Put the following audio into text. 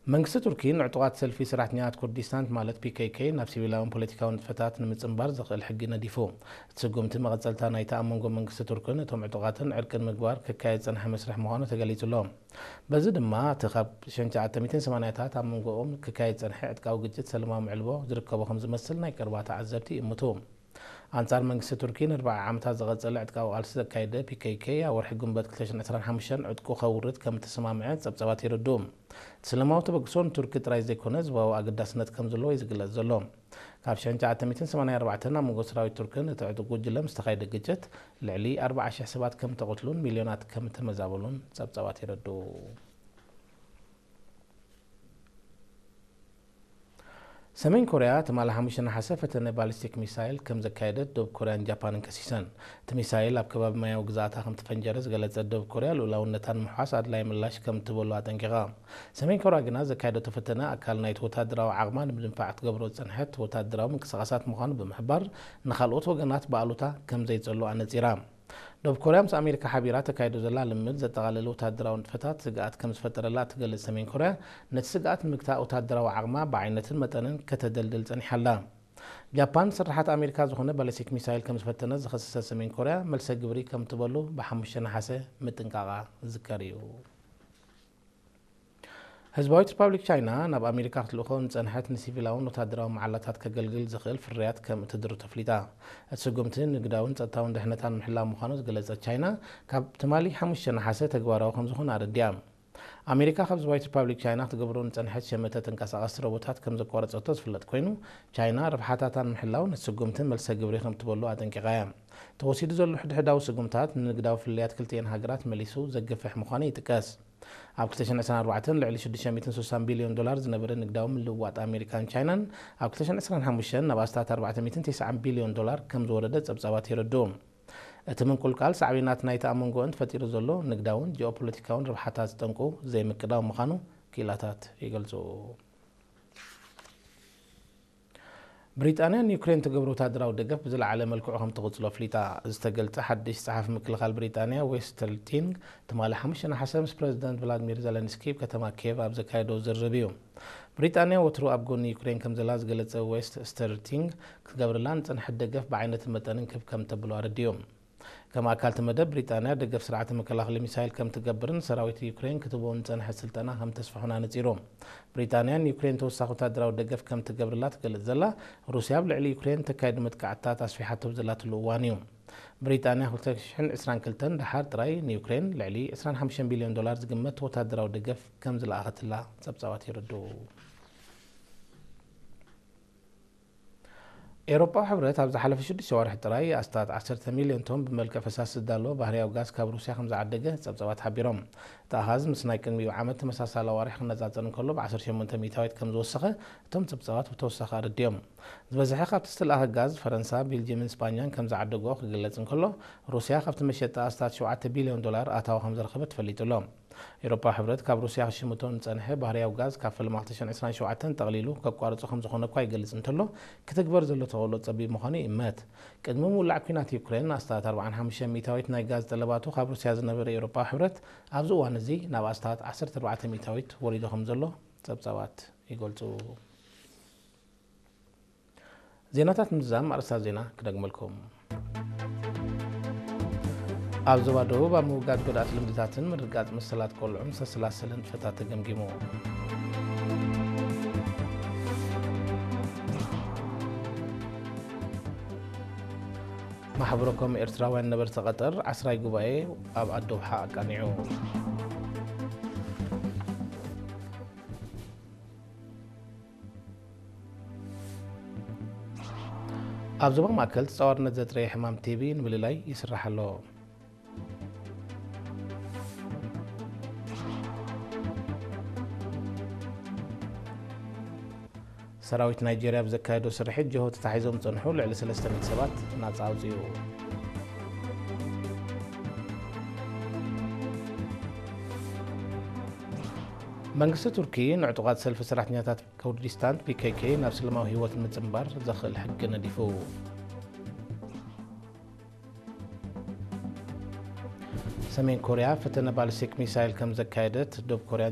መንግስቲ ቱርኪ ንዕጡቓት ሰልፊ ሰራሕተኛታት ኩርዲስታን ማለት ፒ ኬ ኬ ናብ ሲቪላውን ፖለቲካውን ንጥፈታት ንምጽንባር ዘኽእል ሕጊ ነዲፉ። እቲ ስጉምቲ መቐጸልታ ናይቲ ኣብ መንጎ መንግስቲ ቱርክን እቶም ዕጡቓትን ዕርቂ ንምግባር ክካየድ ዝጸንሐ መስርሕ ምዃኑ ተገሊጹ ኣሎ። በዚ ድማ እቲ ካብ ሸንቻ ኣተሚትን ሰማንያታት ኣብ መንጎኦም ክካየድ ዝጸንሐ ዕጥቃዊ ግጭት ሰለማዊ ምዕልቦ ዝርከቦ ከም ዝመስል ናይ ቀረባ ተዓዘብቲ ይእምቱ። ኣንጻር መንግስቲ ቱርኪ ንኣርብዓ ዓመታት ዝቐጸለ ዕጥቃዊ ቃልሲ ዘካየደ ፒ ኬ ኬ ኣብ ወርሒ ግንቦት ክልተ ሽሕን ዕስራን ሓሙሽተን ዕጥቁ ከውርድ ከም እተሰማምዐ ጸብጻባት የረድኡ። እቲ ሰላማዊ ተበግሶ ንቱርኪ ጥራይ ዘይኮነ ዞባዊ ኣገዳስነት ከም ዘለዎ እዩ ዝግለጽ ዘሎ። ካብ ሸንቻ ኣተሚትን ሰማንያ ኣርባዕተን ኣብ መንጎ ሰራዊት ቱርክን እቲ ዕጡቕ ጉጅለ ምስ ተኻየደ ግጭት ልዕሊ ኣርብዓ ሽሕ ሰባት ከም ተቐትሉን ሚልዮናት ከም ተመዛበሉን ጸብጻባት የረድኡ። ሰሜን ኮርያ ትማሊ ሓሙሽተ ነሓሰ ፈተነ ባሊስቲክ ሚሳይል ከም ዘካየደት ደቡብ ኮርያን ጃፓንን ከሲሰን። እቲ ሚሳይል ኣብ ከባቢ ማያዊ ግዝኣታ ከም ተፈንጀረ ዝገለጸት ደቡብ ኮርያ ልኡላውነታ ንምሕዋስ ኣድላይ ምላሽ ከም ትበሉ ኣጠንቂቓ። ሰሜን ኮርያ ግና ዘካየደቶ ፈተነ ኣካል ናይቲ ወታደራዊ ዓቕማ ንምድንፋዕ ክትገብሮ ዝጸንሐት ወታደራዊ ምንቅስቓሳት ምዃኑ ብምሕባር ንኻልኦት ወገናት ብኣሉታ ከም ዘይጸሉ ኣነጺራ። ደቡብ ኮርያ ምስ ኣሜሪካ ሓቢራ ተካይዶ ዘላ ልምምድ ዘጠቓለለ ወታደራዊ ንጥፈታት ስግኣት ከም ዝፈጠረላ እትገልጽ ሰሜን ኮርያ፣ ነቲ ስግኣት ንምግታእ ወታደራዊ ዓቕማ ብዓይነትን መጠንን ከተደልድል ጸኒሓ ኣላ። ጃፓን ስርሓት ኣሜሪካ ዝኾነ ባሊስቲክ ሚሳይል ከም ዝፈተነ ዝኸሰሰት ሰሜን ኮርያ፣ መልሰ ግብሪ ከም ትበሉ ብሓሙሽተ ነሓሰ ምጥንቃቓ ዝዝከር እዩ። ህዝባዊት ሪፓብሊክ ቻይና ናብ ኣሜሪካ ክትልእኾ ንጸንሐት ንሲቪላውን ወታደራዊ መዓላታት ከገልግል ዝኽእል ፍርያት ከም እትድርቶ ኣፍሊጣ። እቲ ስጉምቲ ንግዳውን ጸጥታውን ድሕነታ ንምሕላው ምዃኑ ዝገለጸት ቻይና፣ ካብ ትማሊ ሓሙሽተ ነሓሰ ተግባራዊ ከም ዝኾነ ኣረዲኣ። ኣሜሪካ ካብ ህዝባዊት ሪፓብሊክ ቻይና ክትገብሮ ንጸንሐት ሸመተ ተንቀሳቐስቲ ሮቦታት ከም ዘቋረጸቶ ዝፍለጥ ኮይኑ፣ ቻይና ረብሓታታ ንምሕላው ነቲ ስጉምቲ መልሰ ግብሪ ከም ትበሉ ኣጠንቂቓ እያ። ተወሲዱ ዘሎ ሕድሕዳዊ ስጉምታት ንንግዳዊ ፍልልያት ክልቲኤን ሃገራት መሊሱ ዘግፍሕ ምዃኑ ይጥቀስ። ኣብ ክልተ ሽሕን ዕስራን ኣርባዕተን ልዕሊ ሽዱሽተ ሚእትን ስሳን ቢልዮን ዶላር ዝነበረ ንግዳዊ ምልውዋጥ ኣሜሪካን ቻይናን፣ ኣብ ክልተ ሽሕን ዕስራን ሓሙሽተን ናብ ኣስታት ኣርባዕተ ሚእትን ተስዓን ቢልዮን ዶላር ከም ዝወረደ ጸብጻባት የረድኡ። እቲ ምንቁልቃል ሳዕቤናት ናይቲ ኣብ መንጎ እን ተፈጢሩ ዘሎ ንግዳውን ጂኦፖለቲካውን ረብሓታት ዝጠንቁ ዘይምቅዳው ምዃኑ ክኢላታት ይገልጹ። ብሪጣንያ ንዩክሬን ትገብሮ ወታደራዊ ደገፍ ብዝለዓለ መልክዑ ከም ትቕጽሎ ኣፍሊጣ። ዝተገልጸ ሓድሽ ጸሓፊ ምክልኻል ብሪጣንያ ዌስተር ቲንግ ትማሊ ሓሙሽተ ነሓሰ ምስ ፕረዚደንት ቭላድሚር ዘለንስኪ ኣብ ከተማ ኪየቭ ኣብ ዘካየዶ ዝርርብ እዩ። ብሪጣንያ ወትሩ ኣብ ጎኒ ዩክሬን ከም ዘላ ዝገለጸ ዌስተር ቲንግ፣ ክትገብረላ ንጸንሐት ደገፍ ብዓይነትን መጠንን ክብ ከም ተብሎ ኣረዲኡ። ከም ኣካል እቲ መደብ፣ ብሪጣንያ ደገፍ ስርዓተ መከላኸሊ ሚሳይል ከም ትገብርን ሰራዊት ዩክሬን ክትቦ ንጸንሐ ስልጠና ከም ተስፍሑን ኣነጺሩ። ብሪጣንያ ንዩክሬን ተወሳኺ ወታደራዊ ደገፍ ከም ትገብርላ ትገልጽ ዘላ፣ ሩስያ ኣብ ልዕሊ ዩክሬን ተካይዱ መጥቃዕትታት ኣስፊሓቶ ብዘላትሉ እዋን እዩ። ብሪጣንያ ክልተ ሽሕን ዕስራን ክልተን ደሓር ጥራይ ንዩክሬን ልዕሊ ዕስራን ሓሙሽተን ቢልዮን ዶላር ዝግመት ወታደራዊ ደገፍ ከም ዝለኣኸትላ ጸብጻባት የረድኡ። ኤውሮጳዊ ሕብረት ኣብ ዝሓለፈ ሽዱሽተ ኣዋርሕ ጥራይ ኣስታት ዓሰርተ ሚልዮን ቶን ብመልክዕ ፈሳሲ ዝዳሎ ባህርያዊ ጋዝ ካብ ሩስያ ከም ዝዓደገ ጸብጻባት ሓቢሮም። እቲ ኣሃዝ ምስ ናይ ቅድሚኡ ዓመት ተመሳሳሊ ኣዋርሕ ክነጻጸር እንከሎ ብ ዓሰርተ ሸሞንተ ሚእታዊት ከም ዝወሰኸ እቶም ጸብጻባት ብተወሳኺ ኣረዲኦም። ዝበዝሐ ካብቲ ዝተለኣኸ ጋዝ ፈረንሳ፣ ቤልጅየምን ስጳኛን ከም ዝዓደግኦ ክግለጽ እንከሎ፣ ሩስያ ካብቲ መሸጣ ኣስታት ሸውዓተ ቢልዮን ዶላር ኣታዊ ከም ዝረኸበት ተፈሊጡ ኣሎ። ኤውሮፓዊ ሕብረት ካብ ሩስያ ክሽምቶ ንጸንሐ ባህርያዊ ጋዝ ካብ ፈለማ ክልተ ሽሕን ዕስራን ሸውዓተን ጠቕሊሉ ከቋርጾ ከም ዝኾነ እኳ ይገልጽ እንተሎ፣ ክትግበር ዘሎ ተኽእሎ ጸቢብ ምዃኑ ይእመት። ቅድሚ ምውላዕ ኲናት ዩክሬን፣ ኣስታት ኣርባዓን ሓሙሽተን ሚእታዊት ናይ ጋዝ ጠለባቱ ካብ ሩስያ ዝነበረ ኤውሮፓዊ ሕብረት፣ ኣብዚ እዋን እዚ ናብ ኣስታት ዓሰርተ ኣርባዕተ ሚእታዊት ወሪዱ ከም ዘሎ ጸብጻባት ይገልጹ። ዜናታት ምዝዛም ኣርእስታት ዜና ክደግመልኩም። ኣብ ዞባ ደቡብ ኣብ ምውጋድ ጎዳእቲ ልምድታትን ምርግጋጽ መሰላት ቆልዑን ዝተሰላሰለ ንጥፈታት ተገምጊሙ። ማሕበረኮም ኤርትራውያን ነበርቲ ቀጠር ዓስራይ ጉባኤ ኣብ ኣዶብሓ ኣቃኒዑ። ኣብ ዞባ ማእከል ተጻዋርነት ዘጥረየ ሕማም ቲ ቢ ንምልላይ ይስራሕ ኣሎ። ሰራዊት ናይጄርያ ብዘካየዶ ስርሒት ጅሆ ተታሒዞም ዝጸንሑ ልዕሊ ሰለስተ ሚእቲ ሰባት ናጻ ኣውጺኡ። መንግስቲ ቱርኪ ንዕጡቓት ሰልፊ ሰራሕተኛታት ኩርዲስታን ፒ ኬ ኬ ናብ ሰላማዊ ህይወት ንምጽንባር ዘኽእል ሕጊ ነዲፉ። ሰሜን ኮርያ ፈተነ ባሊስቲክ ሚሳይል ከም ዘካየደት ደቡብ ኮርያ